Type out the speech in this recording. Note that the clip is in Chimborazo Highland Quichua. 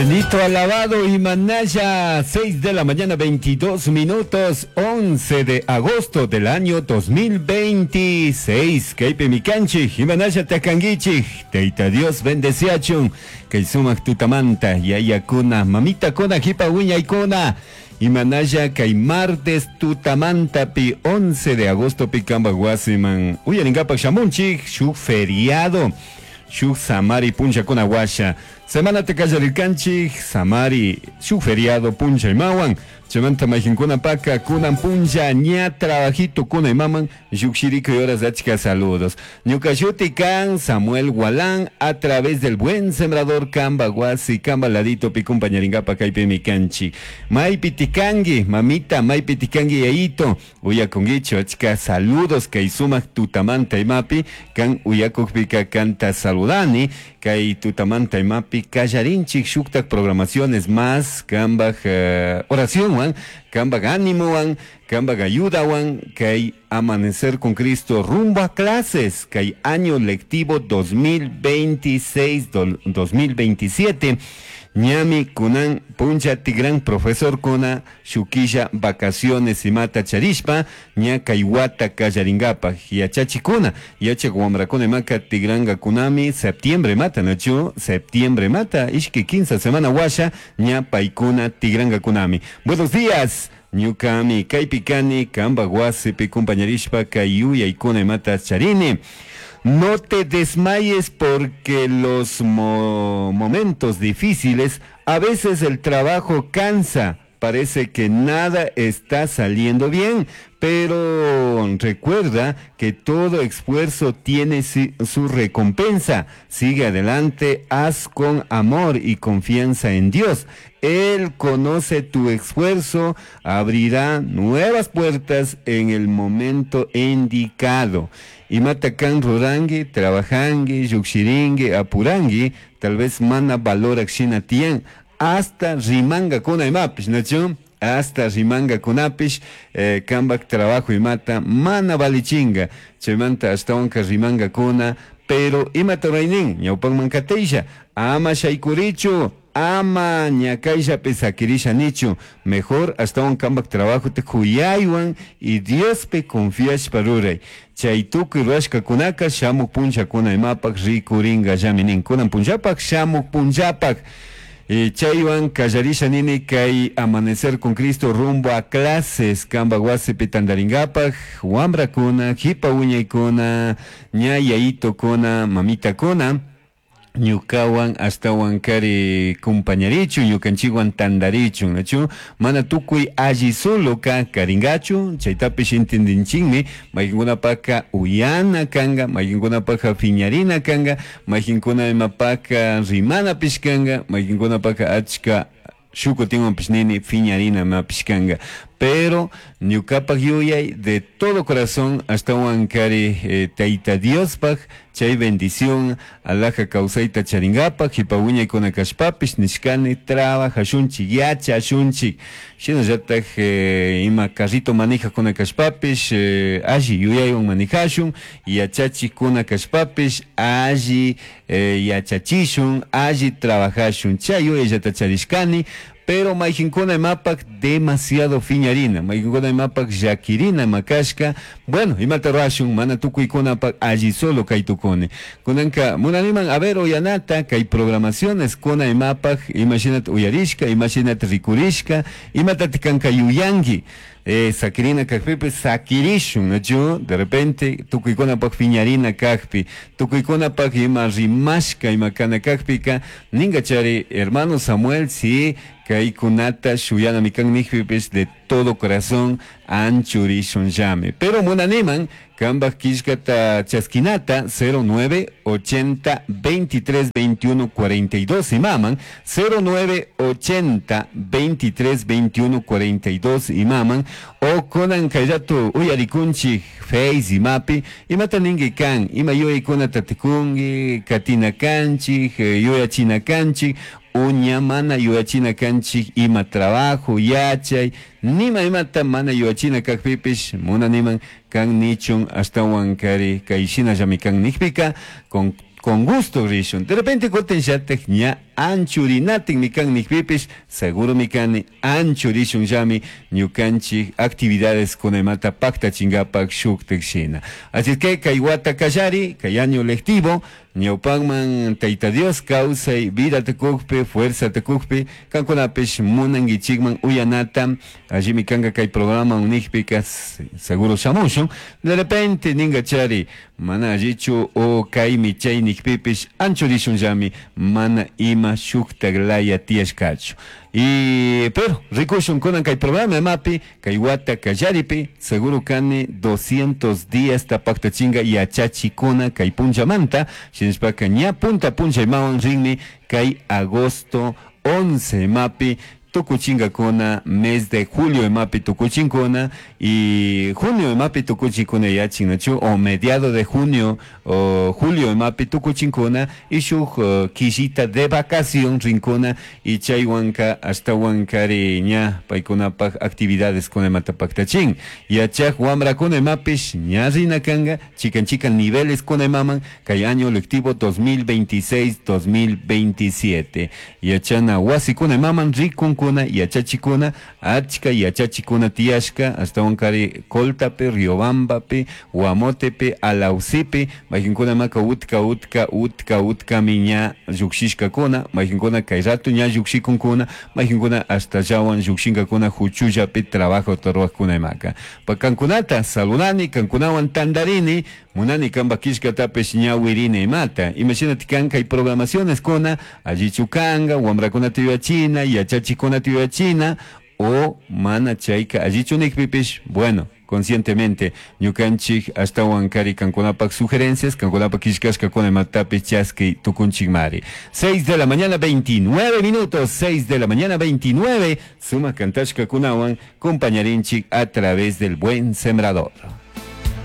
Bendito, alabado y manaya, 6 de la mañana, 22 minutos, 11 de agosto del año 2026. Kaypi mikanchik, imanalla takanguichik, Tayta Dios bendeciachun, kay sumak tutamanta, yayakuna, mamitakuna, hipa wiñaykuna, imanalla kay martes tutamantapi 11 de agosto pi kambak wasiman uyarinkapak shamunchik, shuk feriado, shuk samari punchakuna washa. Semana kallarirkanchik, samari, shuk feriado puncha imawan, chaymanta mayqinkunapaka kunan punlla ña trabajito kuna imaman llukshirikuy horas achka saludos. Ñuka shuti kan Samuel Gualán a través del buen sembrador kamba wasi kamba ladito pi kumpañaringapa kaypimi kanchik. Maypi tikanki, mamita, maypi tikanki yayito, uyakunkichu achka saludos kay sumak tutamanta imapi kan uyakukpika kanta saludani kay tutamanta imapi kallarinchik shuktak programaciones más kambaj oracionwan, kambaj ánimowan, kambaj ayudawan, kay Amanecer con Cristo rumbo a clases, kay año lectivo 2026-2027, ñami kunan puncha tigran profesor kuna shukilla vacaciones imata charishpa, ña kay wata kallaringapaj yachachikuna, yachak wamrakuna imaka tigranga kunami septiembre mata, nachu septiembre mata, ishki 15 semana washa, ña paykuna tigranga kunami. Buenos días. Ñukami kaypi kani kamba wasipi kumpañarishpa kay yuyaykuna imata charini. No te desmayes porque los momentos difíciles, a veces el trabajo cansa, parece que nada está saliendo bien, pero recuerda que todo esfuerzo tiene su recompensa. Sigue adelante, haz con amor y confianza en Dios. Él conoce tu esfuerzo, abrirá nuevas puertas en el momento indicado. Imata kan rurangi, trabajangi, llukshiringi, apurangi, tal vez mana valorak shina tiyan, hasta rimanga kuna imapish, ¿nachu? Hasta rimanga kunapish, kambak trabajo imata mana valichinga, chaymanta ashtawanka rimanga kuna, pero imata raynin, ñawpanman kateysha, ama shaykurichu, ama ñakayllapi sakirisha nichu, mejor ashtawan kambak trabajo te kuyaywan y Diospi confiashpa ruray. Chay tukuy rurashkakunaka shamuk punllakuna imapak rikuringa llami nin, kunan punllapak shamuk punllapak. Chaywan kallarisha nini kay Amanecer con Cristo rumbo a clases kamba wasipi tandaringapak, wambrakuna, hipa wiñaykuna, ña yayitokuna, mamitakuna, ñukawan ashtawan kari kumpañarichu, ñukanchikwan tandarichu, nachu mana tukuy alli solo ka karingachu, chaytapish intendinchikmi, mayqinkunapaka uyana kanga, mayqinkunapaka phiñarina kanga, mayqinkuna imapaka rimanapish kanga, mayqinkunapaka achka shukutinwanpish nini phiñarina imapish kanga. Pero ñukapak yuyay de todo corazón ashtawan kari Tayta Diospaj chay bendición alaja kawsayta charingapak hipa wiñaykuna kashpapish nishkani trabajashunchik yachashunchik shinallatak ima carrito manijajkuna kashpapish alli yuyaywan manijashun, yachachikuna kashpapish alli yachachishun, alli trabajashun, chay yuyayllata charishkani. Pero mayqinkuna imapak demasiado phiñarina, mayqinkuna imapak llakirina makashka, bueno, imata rurashun, mana tukuykunapak alli solo kay tukuni. Kunanka munaniman a ver uyanata kay programaciones kuna imapak, imashinata uyarishka, imashinata rikurishka, imatata kanka yuyanki. Sakirina kakpipish sakirishun, nachu? De repente tukuykunapak phiñarina kakpi, tukuykunapak ima rimashka, ima kana kakpika, ninga chari, hermano Samuel, si kaykunata shuyana mikan nijpipish de todo corazón anchurishun llame. Pero munaniman, kambaj killkata chaskinata, cero nueve ochenta 23 21 42 imaman, cero nueve ochenta 23 21 42 imaman, o kunan kayrato uyarikunchik Face imapi, imata ningi kan, ima yuyaykuna tatikunki, katina kanchik, yuyachina kanchik, uña mana yuyachina kanchik, ima trabajo, yachay, nima imata mana yuyachina kakpipish, munaniman kan nichun ashtawan kari kay shinallami kan nijpika, con gusto rishun. De repente kutin shatek ña Anchurinatikmi kan nijpipish, seguromi kani anchurishunllami ñukanchik actividades kunaymanta paktachinkapak shuktik shina. Así es que kay wata kallari, kay año lectivo, ñawpakman Tayta Dios kawsay vida tukukpi, fuerza tukukpi, kankunapish munankichikman uyanata, allimi kanka kay programa nijpika seguro shamushun. De repente ninkachari mana allichu o kaymi chay nijpipish anchurishunllami mana ima shuktak laya tiyashkachu. Y pero rikushun kunan kay programa imapi kay wata kallaripi seguro kani 200 días paktachinga yachachikuna kay punchamanta shinashpaka ña punta puncha imawan rinmi kay agosto 11 imapi tukuchinkakuna mes de julio imapi tukuchinkuna y junio imapi tukuchinkuna yachinachu o mediado de junio o julio imapi tukuchinkuna y shuk killita de vacación rinkuna y chaywanka ashtawankari ña paykunapak actividades kuna imata paktachin yachak wamrakuna imapish ña rina kanga chikan chikan niveles kuna imaman kay año lectivo 2026-2027 yachana wasikuna imaman rikunkuna yachachikuna achka yachachikuna tiyashka ashtawankari Coltapi, Riobambapi, Guamotepi, Alausipi mayqinkuna maka utka utka utka utkami ña llukshishkakuna mayqinkuna kay rato ña llukshikunkuna mayqinkuna ashtallawan llukshinkakuna huchullapi trabajo ruwaqkuna imaka pa kankunata saludani kankunawan tandarini munani kanpak killkatapish ñawirini imata imashinati kan kay programaciones kuna allichu kanka wamrakunata yuyachina yachachikunata yuyachina o mana chayka allichu nikpipish bueno conscientemente ñukanchik ashtawan kari kankunapak sugerencias kankunapak killkashkakuna imatapish chaski tukunchikmari. 6 de la mañana 29 minutos, 6 de la mañana 29, sumak kantashkakunawan compañarinchik a través del Buen Sembrador.